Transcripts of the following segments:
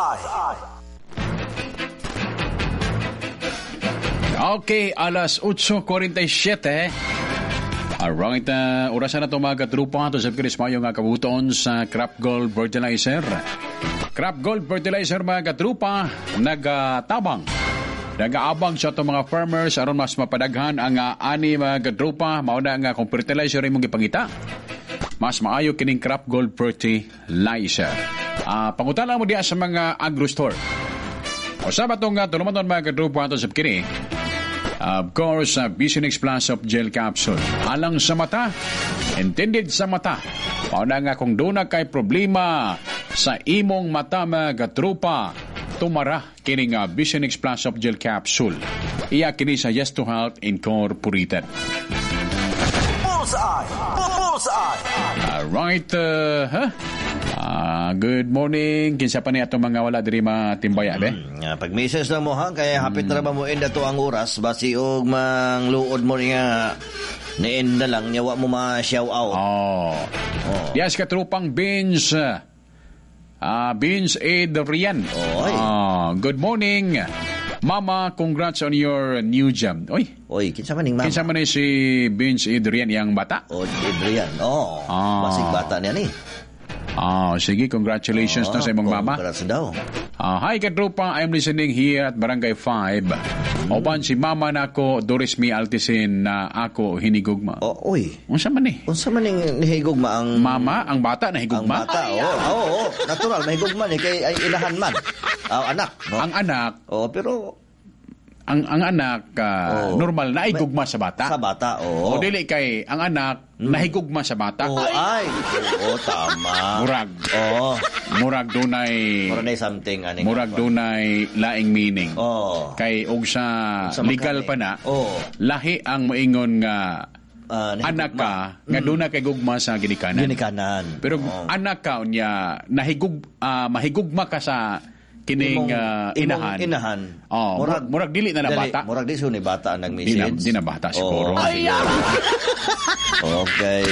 Bullseye. Okay, alas 8:47. Alright, orasan na ito, mga katrupa. Ito sa Chris Mayo nga kabuton sa Crop Gold Fertilizer. Crop Gold Fertilizer, mga katrupa, nagatabang. Nagaabang sa itong mga farmers aron mas mapadaghan ang ani, mga katrupa. Mauna nga kung fertilizer imong gipangita, mas maayo kining Crop Gold Fertilizer. Pangutana mo diya sa mga agro store. O sa batong nga tulumanon, mga katrupa, ito sa kini. Of course, Visionix Plus of Gel Capsule. Alang sa mata, intended sa mata. Pauna nga kung doon na kay problema sa imong mata, mga katrupa, tumara kining Visionix Plus of Gel Capsule. Iya kini sa Yes to Health Incorporated. Bullseye. Bullseye. Alright, huh? Good morning. Kinsa pa ni atong mga wala diri matimbaya, be? Nga, pag message lang mo ha, kaya hapit na ba mo end ato ang oras, basi og mangluod mo niya, ni-end na lang, niya wa mo ma-shout out. Oh. Yes, katrupang Vince. Vince Adrian. Oy. Good morning. Mama, congrats on your new job. Oy. Oy, kinsa man ning mama? Kinsa man ni si Vince Adrian, yang bata? Oh, Adrian. Oh, basig bata niya ni. Sige, congratulations na sa imong mama. Congrats daw. Hi katropa, I'm listening here at Barangay 5. Opan si mama nako, Doris Mi Altisin, na ako hinigugma. Oh, oy. Unsa man ni? Unsa man ning nihigugma ang mama, ang bata nahigugma? Ang bata, oo. Oo, natural mahigugma ni kay ay inahan man. Anak, no? Ang anak. Oh, pero ang anak normal na gugma sa bata. Sa bata, oo. O dili kay ang anak nahigugma sa bata. Oh, ay. Oo, tama. Murag. Oo. Murag dunay murag nay something ani. Murag dunay laing meaning. Oo. Kay og sa legal pa na, oo, lahi ang moingon nga anak ka nga duna kay gugma sa ginikanan. Ginikanan. Pero anak ka unya nahigug mahigugma ka sa kining inahan. Inahan. Oh, murag dili na bata. Murag di ni bata ang nag-message. Di na bata siguro. Ay, okay,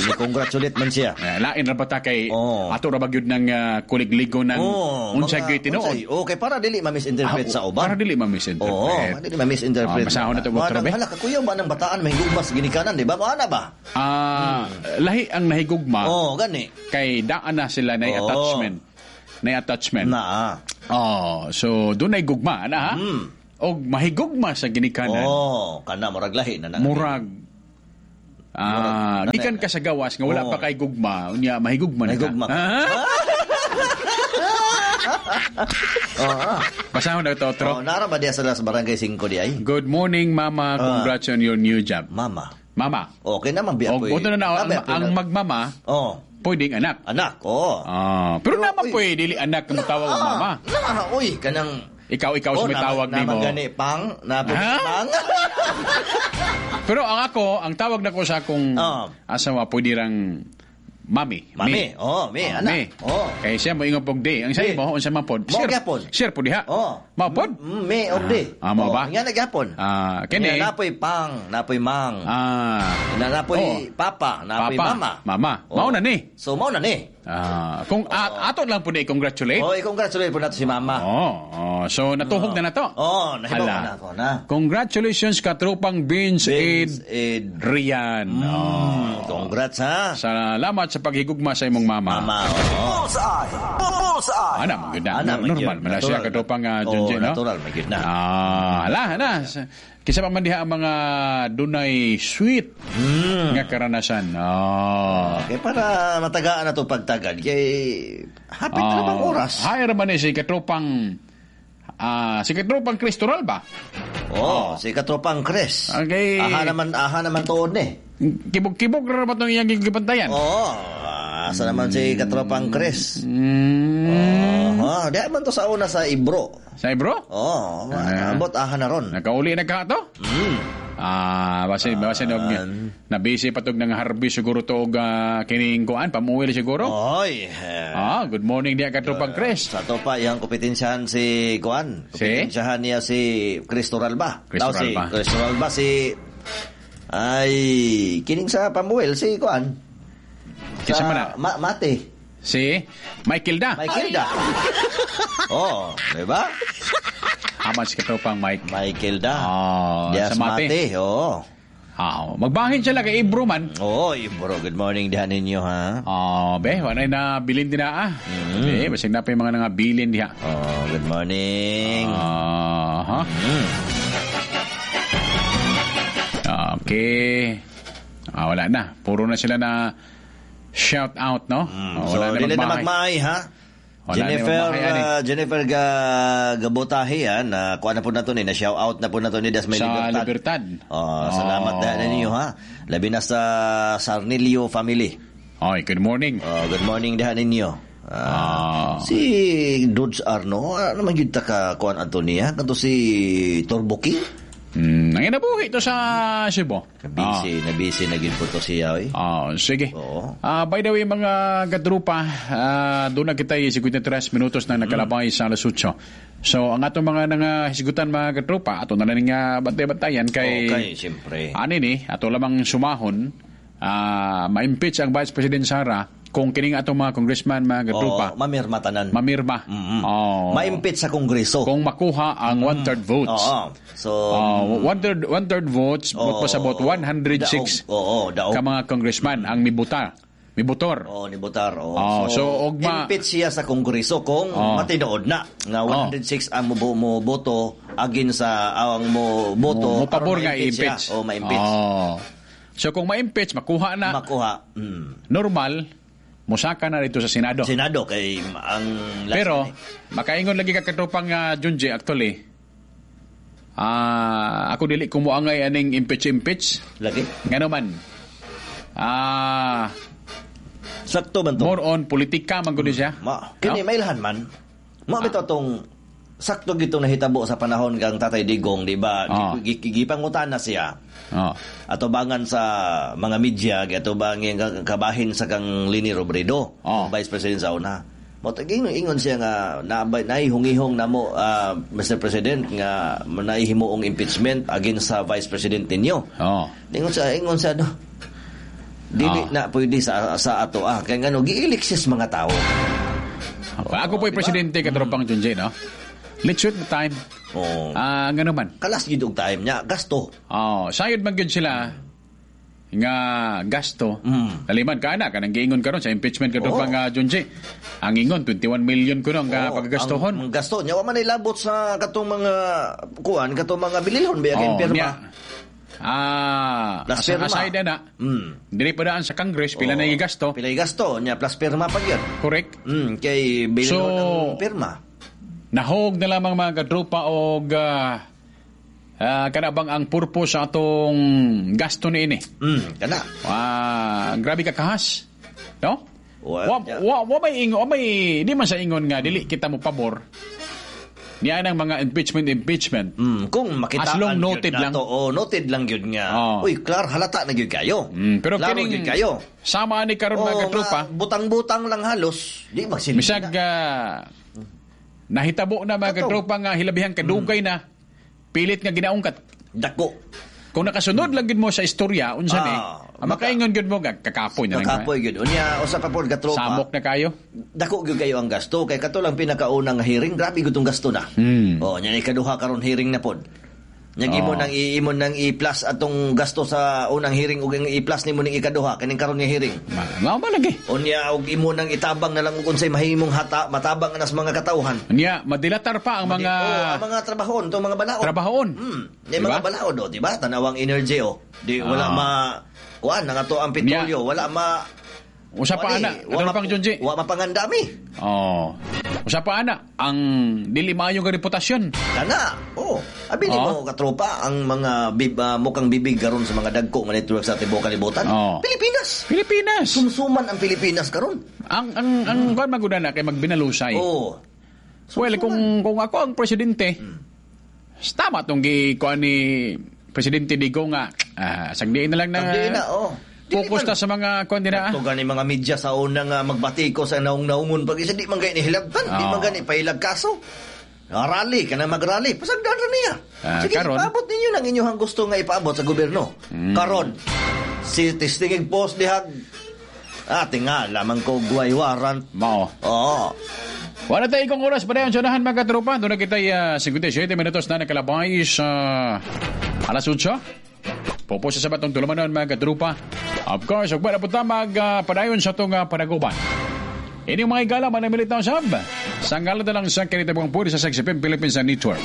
ni-congratulate man siya. Lain ra bata kay ato ra ba gyud ng kuligligo ng unsa gyud tinuod. Okay, para dili ma-misinterpret sa uban. Para dili ma-misinterpret. Oo, para dili ma-misinterpret. Masahon na to, Dr. Be. Hala ka kuya ba ng bataan mahigugma sa ginikanan, di ba? Maana ba? Lahi ang nahigugma. Oo, gani. Kay daan na sila na attachment. Na attachment. Na. Oh, so dunay gugma ana ha. Og mahigugma sa ginikanan. Oh, kana murag lahi na nang. Murag gikan ka sa gawas nga wala pa kay gugma, unya mahigugma na ka. Mahigugma. Basahon na ito, Tro. Oh, nara ba diya sa Barangay 5 di ay? Good morning, Mama. Congrats on your new job. Mama. Mama. Okay naman biya po. Og na ang magmama. Oh. Pwedeng anak. Anak, oo. Pero naman pwede, dili anak ang tawag og mama. Na, uy, kanang ikaw sa may tawag nimo. Naman gani pang, pang. Pero ang ako, ang tawag nako sa akong asawa pwede rang mami. Mami, oh, mi, anak. Mi. Oh. Kay siya moingon pog di. Ang sa imo, unsa man pod? Mo gyapon. Sir pod diha. Oh. Mao pod? Mi og di. Mao ba? Nga na gyapon. Kini. Napoy pang, napoy mang. Napoy papa, napoy mama. Mama. Mao na ni. So mao na ni. Kung ato lang po na i-congratulate. Oh, i-congratulate po nato si mama. Oh, so natuhog na nato. Oh, nahibaw na ako na. Congratulations katropang Vince Ed Rian. Congrats ha. Salamat sa paghigugma sa imong mama. Mama, oo. Bullseye. Bullseye. Ana, man gyud na. Normal man na siya katropang Junjun, no? Natural man gyud na. Ala na. Kisa pa man diha ang mga dunay sweet nga karanasan. Oh. Okay, para matagaan na ito pagtagad. Kay hapit na bang oras? Hi raman ni si katropang Kristoral ba? Oh, si katropang Chris. Okay. Aha naman tuod ni. Kibog-kibog ra ba itong iyang gibantayan? Oo. Asa naman si katropang Chris. Oh, di man to sa una sa Ibro. Sa Ibro? Oo. Ambot aha na ron. Nakauli na ka to? Base og na busy pa tog nang harvest siguro to og kining kuan pamuwil siguro. Oy. Good morning diha katropang Chris. Sa to pa iyang kompetensyahan si kuan. Kompetensyahan niya si Cristo Ralba. Cristo Ralba. Si Cristo Ralba si ay kining sa pamuwil si kuan. Kinsa man na? Mate. Si Michael da. Michael da. Oh, di ba? Aman si katropang Mike. Michael da. Oh, Dias sa Mate. Mate. Oo. Ah, magbahin sila kay Ibro man. Oo, Ibro. Good morning dihan ninyo, ha? Oh, be, wala na bilin din na ah. Eh, basig na pa yung mga nangabilin diha. Oh, good morning. Ah, ha? Okay. Ah, wala na. Puro na sila na shout out, no? Ah, So, wala na dili na magmahay. magmahay, ha? Wala na Jennifer, magmahay, ani. Jennifer Gabotahi, ha? Na, kuha na po na to ni, na shout out na po na to ni Das May Sa Libertad. Libertad. Oh, salamat Oh. na ninyo, ha? Labi na sa Sarnilio family. Oy, good morning. Oh, good morning dihan ninyo. Si Dodge Arno, ano man yun ta ka kuan Antonia? Kanto si Turbo King? Ang inabuhi ito sa Cebu. Busy, na busy na gyud po to siya, oy. Sige. Oo. By the way, mga kadrupa, doon na kita 53 minutos na nakalabay sa alas 8. So, ang atong mga nangahisgutan, mga kadrupa, ato na lang nga bantay-bantayan kay... Okay, siyempre. Ani ni, ato lamang sumahon, ma-impeach ang Vice President Sara kung kining atong mga congressman, mga kadrupa, Oo, mamirma tanan. Mamirma. Oh. Ma-impeach sa Kongreso. Kung makuha ang one-third votes. Oo. So, One-third votes, Oo. but pasabot 106 Daog. Oo, daog. ka mga congressman ang mibuta, mibutor. Oo, ni Butar. Oo. Oo, so, ugma- impeach siya sa Kongreso kung Oo. matinood na nga 106 ang mo boto agin sa awang mo boto. Mo pabor aron nga ma-impeach siya. i-impeach. Oo, ma-impeach. Oo. So kung ma-impeach, makuha na. Makuha. Normal, musaka na rito sa Senado. Senado kay ang last Pero na eh. makaingon lagi ka katropang Junji actually. Ako dili kumuangay aning impeach. Lagi. Ngano man. Sakto man to. More on politika man gud siya. Ma, kini No? mailhan man. Mo bitaw tong sakto gitong nahitabo sa panahon kang Tatay Digong, di ba? Gipangutan na siya. Atubangan sa mga media, atubangan kabahin sa kang Leni Robredo, Vice President sa una. Mo ingon siya nga naihungihong namo, Mr. President, nga naihimuong impeachment against sa Vice President ninyo. Ingon siya no. Dili na pwede sa ato kay ngano giilik siya sa mga tao. Ako po'y presidente katropang Junjay, no? Let's shoot the time. Oo. Ngano man. Kalas gyud og time niya, gasto. Oh, sayod man gyud sila nga gasto. Naliman ka na kanang giingon karon sa impeachment katropang Junjay. Ang ingon 21 million kuno ang paggastohon. Ang gasto niya wa man ilabot sa katong mga kuan, katong mga bililhon biya kay pirma. Niya. Plus pirma. Aside na. Dili pa daan sa Congress pila na gigasto. Pila gigasto niya plus pirma pa gyud. Correct. Kay bililhon So, ang pirma. Nahog na lamang mga kadrupa og kana bang ang purpose sa atong gasto niini. Kana. Grabe ka kahas. No? Wa wa wa may ingon, wa may di man sa ingon nga dili kita mo pabor. Niya nang mga impeachment. Kung makitaan As long noted gyud lang. nato, oh, noted lang gyud nga. Uy, klar halata na gyud kayo. Pero Klaro kining gyud kayo. Sama ni karon mga Oo, katropa. nga, butang-butang lang halos. Di magsilbi. Bisag nahitabo na mga katropa nga hilabihang kadugay na pilit nga ginaungkat. Dako. Kung nakasunod lang gyud mo sa istorya unsa ni, makaingon gyud mo nga kakapoy na lang. Kakapoy gyud. Unya usa pa pod katropa. Samok na kayo. Dako gyud kayo ang gasto kay kato lang pinakaunang hearing, grabe gyud tong gasto na. Oh, nya ikaduha karon hearing na pod. Nya imo nang iimo nang i-plus atong gasto sa unang hearing ug ang i-plus nimo ning ikaduha kining karon nga hearing. Mao ba lagi? Unya og imo nang itabang na lang og unsay mahimong hata matabang na sa mga katawhan. Nya madilatar pa ang mga Oh, ang mga trabahon, tong mga balaod. Trabahon. Yung Diba? mga balaod, oh, di ba? Tanawang energy, oh. Di, wala ma... Kuan, ang ato ang petrolyo, wala ma... Usa pa ana, wa pang Junji. Wa mapangandami. Oh. Usa pa ana ang dili maayo nga reputasyon. Kana. Oh, abi ni mo katropa ang mga mukhang bibig karon sa mga dagko nga network sa tibuok kalibutan. Pilipinas. Pilipinas. Sumsuman ang Pilipinas karon. Ang kuan maguna na kay magbinalusay. Oo. Well, kung ako ang presidente, tama tong gi kuan ni Presidente Digo nga sagdiin na lang na. Sagdiin na, oh. Focus ta sa mga kuan din na. Kato gani mga media sa una nga magbatiko sa naung-naungon pag isa di man gani hilabtan, di man gani pahilag kaso. Rally ka na mag-rally. Pasagdan ra niya. Sige, karon. ipaabot ninyo nang inyong gusto nga ipaabot sa gobyerno. Karon, si testingig post dihag Ah, tingala man ko guay warrant. Mao. Oo. Wala tayo kong oras pa rin sa unahan, mga katropa. Doon na kita 57 minutos na nakalabay sa alas 8. Pupo sa sabatong tulumanon, mga katropa. Of course, ug wala po ta mag padayon sa itong panaguban. Ini mga igala, manamilit na usab. Sa ngalan na lang sa kinitabang puri sa XFM Philippines Network.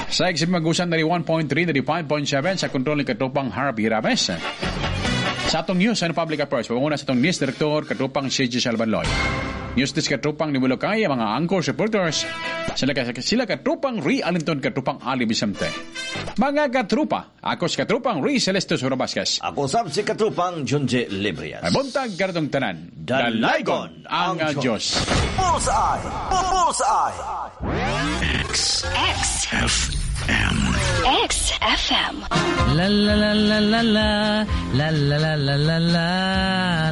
Sa XFM Magusan na 1.3 na 5.7 sa kontrol ni Katropang Harvey Rames. Sa atong news and public affairs, panguna sa atong news director, Katropang CJ Salvanloy. News desk Katropang ni Mulokay, ang mga anchor supporters, sila Katropang Ri Alinton, Katropang Ali Vicente. Mga katrupa, ako si Katropang Ri Celeste Sura Vasquez. Ako sab si Katrupang Junji Librias. Ay buntag karatong tanan. Dalaygon ang ang Diyos. Bullseye! Bullseye! X. X. F. M. X FM. La la la la la la la la la la la la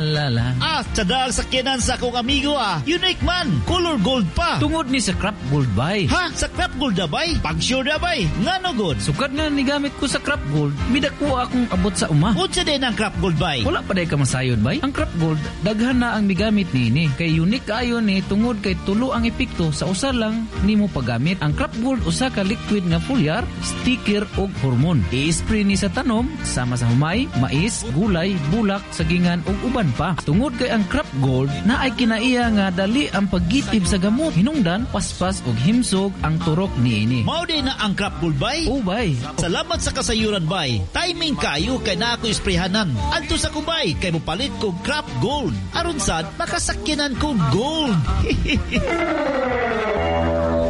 la la. Ah, tsadal sa kinan sa akong amigo ah. Unique man, color gold pa. Tungod ni sa Crop Gold bay. Ha, sa Crop Gold na bay? Pag-sure na bay? Ngano good? Sukad nga nigamit ko sa Crop Gold, midako akong abot sa uma. Unsa din ang Crop Gold bay? Wala pa day ka masayod bay. Ang Crop Gold, daghan na ang migamit niini. Kay unique ayo ni tungod kay tulo ang epekto sa usa lang nimo paggamit. Ang Crop Gold usa ka liquid nga foliar, sticker og hormone. I-spray ni sa tanom sama sa humay, mais, gulay, bulak, sagingan ug uban pa. Tungod kay ang Crop Gold na ay kinaiya nga dali ang paggitib sa gamot. Hinungdan, paspas ug himsog ang turok niini. Mao din na ang Crop Gold bay? Oh bay. Salamat sa kasayuran bay. Timing kayo kay na ako isprayhanan. Adto sa kubay kay mopalit ko Crop Gold. Aron sad makasakyanan ko gold.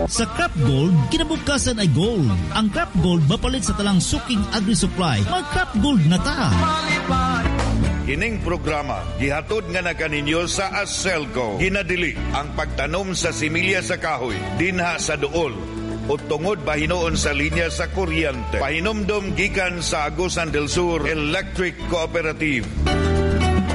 Sa Crop Gold, kinabukasan ay gold. Ang Crop Gold mapalit sa talang suking agri-supply. Mag-Crop Gold na ta. Kining programa gihatod nga na kaninyo sa Aselco. Ginadili ang pagtanom sa similya sa kahoy dinha sa duol o tungod bahinuon sa linya sa kuryente. Pahinumdom gikan sa Agusan del Sur Electric Cooperative.